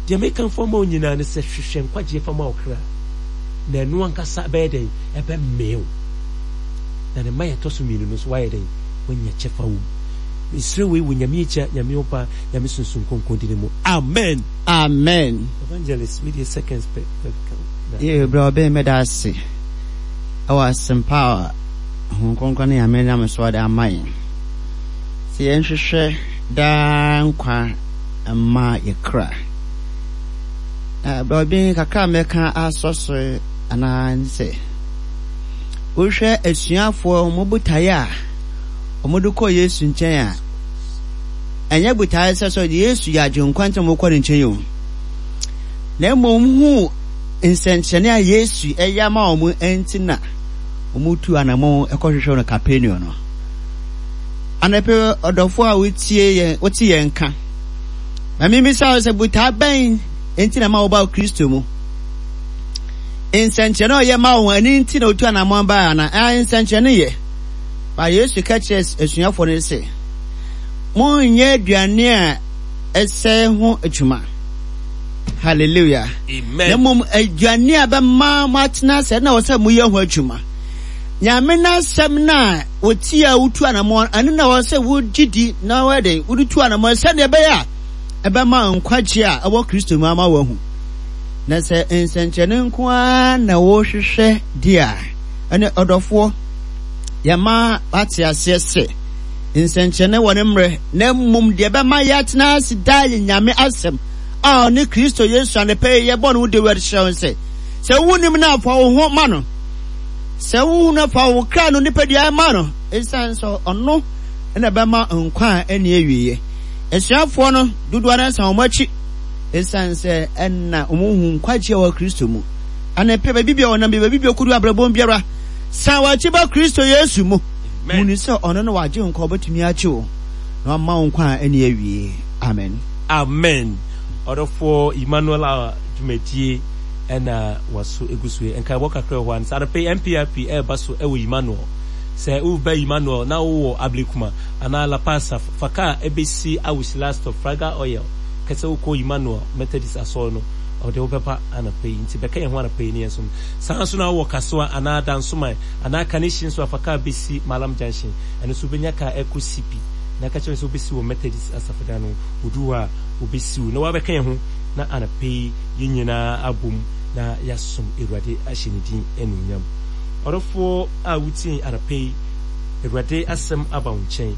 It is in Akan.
Deɛ mekamfo ama wo nyinaa ne sɛ hwehwɛ nkwagyeɛ fa ma wo kra, na ɛno ankasa bɛyɛ dɛn? Ɛbɛmee wo. Na ne mma yɛtɔ so mmienu no nso woayɛ dɛn? Woanya kyɛfa wɔ mu. Mesrɛ wei wɔ Nyame Agya, Nyame Ɔba, Nyame Sunsum Kronkron dini mu. Amen. Amen. Evangelist, wei deɛ seconds pɛ. Yee, bra ɔbɛn mɛda ase ɛwɔ asɛmpa a Honhom Kronkron ne Nyame nam so ɔde ama yɛn. Sɛ yɛnhwehwɛ daa nkwa mma yɛ kra. Na bra ɔbɛn kakra a mɛka asɔ so anaa ne sɛ, wohwɛ asuafoɔ wɔn botaeɛ a wɔde kɔ Yesu nkyɛn a, ɛnyɛ botaeɛ sɛ sɛ Yesu yɛ agyenkwa nti na wɔkɔ ne nkyɛn o. Na mmom hu nsɛnkyerɛnne a Yesu ɛyɛ ama wɔn nti na wɔtu anamɔn kɔhwehwɛ no Kapernaum no. Anɔpɛ ɔdɔfo a wotie yɛn wote yɛn nka. Ma mimisa wo sɛ botae bɛn nti na ma woba Kristo mu? Nsɛnkyerɛnne a ɔyɛ ma wɔn ɛno nti na wotu anamɔn baa ana? Ɛɛ nsɛnkyerɛnne yɛ. Ba Yesu ka kyerɛɛ asuafoɔ no sɛ, monyɛ aduane a ɛsɛe ho adwuma. Hallelujah. Amen. Na mmom aduane a bɛma moatena ase na wɔ sɛ moyɛ ho adwuma. Nyame n'asɛm no a wɔtie a wotu anamɔn ɛno na wɔ sɛ wogye di na wɔyɛ den wode tu anamɔn sɛdeɛ ɛbɛyɛ a ɛbɛma nkwagye a ɛwɔ Kristo mu ama wɔahu. Na sɛ nsɛnkyerɛnne nko ara na wohwehwɛ di a, ɛne ɔdɔfoɔ yɛma wate aseɛ sɛ nsɛnkyerɛnne wɔ ne mmerɛ, na mmom deɛ ɛbɛma yɛatena ase daa yɛ Nyame asɛm a ɔne Kristo Yesu anɔpa yi yɛbɔ no wo dawuro kyerɛ wo sɛ, sɛ wonim no a fa wo ho ma no, sɛ wohu no fa wo kra no nipadua ma no, ɛsiane sɛ ɔno na ɛbɛma nkwa a ɛnni awieɛ. Asuafoɔ no dodoɔ no san wɔn akyi ɛsiane sɛ ɛna wɔn hu nkwagyeɛ wɔ Kristo mu. Anɔpa baabi bia wɔnam bi baabi bia ɔkɔdu abrabɔ biara san wɔn akyi ba Kristo Yesu mu. Hunu sɛ ɔno na wagye nkwa ɔbɛtumi agye wo na wama wo nkwa a ɛnni awieɛ. Amen. Amen ɔdɔfoɔ Emmanuel a dwumadie ɛna waso egu so yi nkaebɔ kakra wɔ hɔ a sɛ anɔpɛ yi NPRP ɛreba so ɛwɔ Emmanuel sɛ woba Emmanuel na wowɔ Ablekuma anaa La Paz a fa kaa ɛbɛsi Awusi last stop Fraga Oil kɛsɛ wokɔ Emmanuel Methodist asɔre no ɔde wobɛba anɔpɛ yi nti bɛka yɛn ho anɔpɛ yi ne yɛn som saa nso na wowɔ Kasoa anaa Dansoman anaa Kaneshie nso a fa kaa bɛsi Malam Junction ɛno nso wobɛnya kaa ɛkɔ CP na ka kyerɛ no sɛ wobɛsi wɔ Methodist asafo-dan no, odu hɔ a, obesi wo, na wabɛka yɛn ho, na anɔpa yi yɛn nyinaa abom na yɛasom Awurade ahyɛ ne din anuonyam. Ɔdɔfoɔ a wotie anɔpa yi, Awurade asɛm aba wo nkyɛn.